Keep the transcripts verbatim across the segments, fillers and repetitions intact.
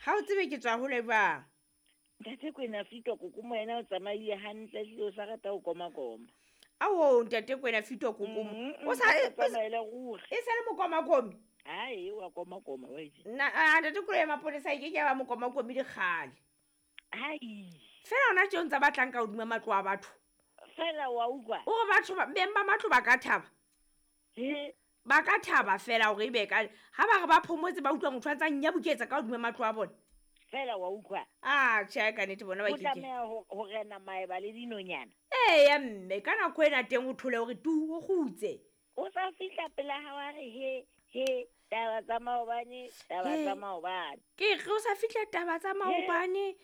Ga o tsebe ke tswa hole jwang. Ntate Kwena Fitwa kokomo yena o tsamaile hantle ehlile o sa rata ho komakoma. Ao ntate Kwena Fitwa kokomo. Mm, O sa mm, e o tsamaela ruri. e sa le mokomakomi. Hai, wa komakoma wa itse. Nna a ntate koloi ya maponesa e ke ke ya ba mokomakomi dikgale. Hai. Fela hona tje o ntsa batlang ka hodima matlo a batho. Fela wa utlwa. O re batho ba beng ba matlo ba ka thaba. He. Ba ka thaba fela hore ebe ka ha ba re ba phomotse ba utlwa motho a ntsa nyabuketsa ka hodima matlo a bona. Fela wa utlwa. Ah, tjhe ka nnete bona ba O ke ke. tlameha ho ho rena maeba le dinonyana. Eya mme ka nako ena teng o thole hore tu o kgutse. O sa fihla pela hao a re he he taba tsa maobane, taba He. tsa maobane. Ke re o sa fihla taba tsa maobane.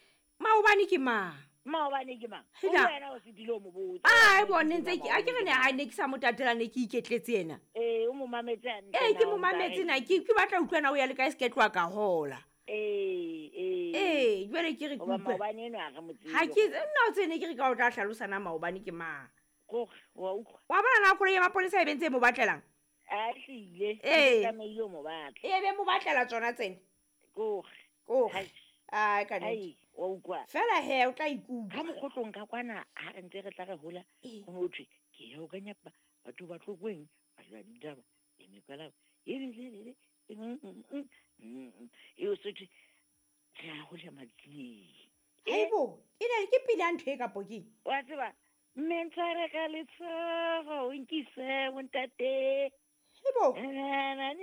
Maobane ke mang? Maobane ke mang? Hela. O wena o fetile o mo botsa. Ai bone ntse ke a ke re ne ha ne ke sa mo tatela ne ke iketletse yena. Ee, o mo mametse hantle Ee ke na mo o ntsa mametse reng? na ke ke batla ho utlwa na o ya le kae se ke tloha ka hola. Ee, ee. Ee, jwale ke re ke Hoba utlwe. maobane enwa ha re mo tsebe. Ha ke nna o tsene ke re ka o tla hlalosa na maobane ke mang. Kore, wa utlwa. Wa bona na koloi ya maponesa e be ntse e mo batlelang? A hlile, Ee. o tlamehile o mo batla. E be mo batlela tsona tsena. Kore. Kore. Hai. Ai ka nnete. Hai, wa utlwa. Fela he o tla ikutlwa. Ka mokgotlong ka kwana ha re ntse re tla re hola, Ee. ho no thwe ke ya ho kanyapa batho ba Tlokweng, ba jwa ditaba, e mekwalaba, e le le le, mm, mm, mm, mm, mm. E o se thwe re a hola matsieng. Haibo, e ne ke pina ntho e kapo keng? Wa tseba, mme ntshware ka letsoho, o nkise ho ntate. Haibo. Na, na, na,